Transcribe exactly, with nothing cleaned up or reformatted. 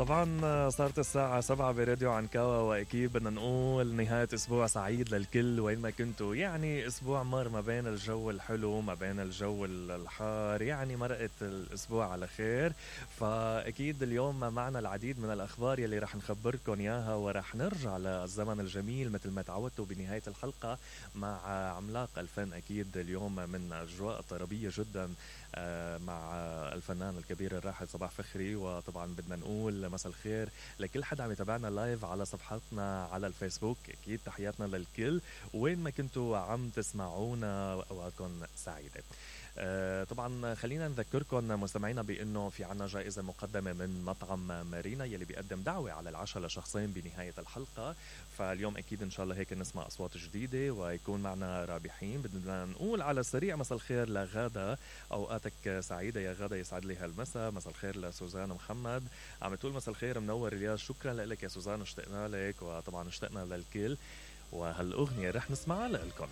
طبعا صارت الساعة سبعة براديو عنكاوا، وأكيد بدنا نقول نهاية أسبوع سعيد للكل وين ما كنتوا. يعني أسبوع مر ما بين الجو الحلو ما بين الجو الحار، يعني مرقت الأسبوع على خير. فأكيد اليوم معنا العديد من الأخبار يلي رح نخبركن إياها، ورح نرجع للزمن الجميل مثل ما تعودتوا بنهاية الحلقة مع عملاق الفن. أكيد اليوم من أجواء طربية جدا مع الفنان الكبير الراحل صباح فخري. وطبعا بدنا نقول مساء الخير لكل حدا عم يتابعنا لايف على صفحاتنا على الفيسبوك. اكيد تحياتنا للكل وين ما كنتوا عم تسمعونا، اوقاتكم سعيده. آه طبعا خلينا نذكركم مستمعينا بانه في عنا جائزه مقدمه من مطعم مارينا يلي بيقدم دعوه على العشاء لشخصين بنهايه الحلقه. فاليوم اكيد ان شاء الله هيك نسمع اصوات جديده ويكون معنا رابحين. بدنا نقول على السريع مساء الخير لغاده، اوقاتك سعيده يا غاده، يسعد لي هالمساء. مساء الخير لسوزان محمد، عم تقول مساء الخير منور الياس. شكرا لك يا سوزان، اشتقنا لك وطبعا اشتقنا للكل. وهالاغنيه رح نسمعها لكم.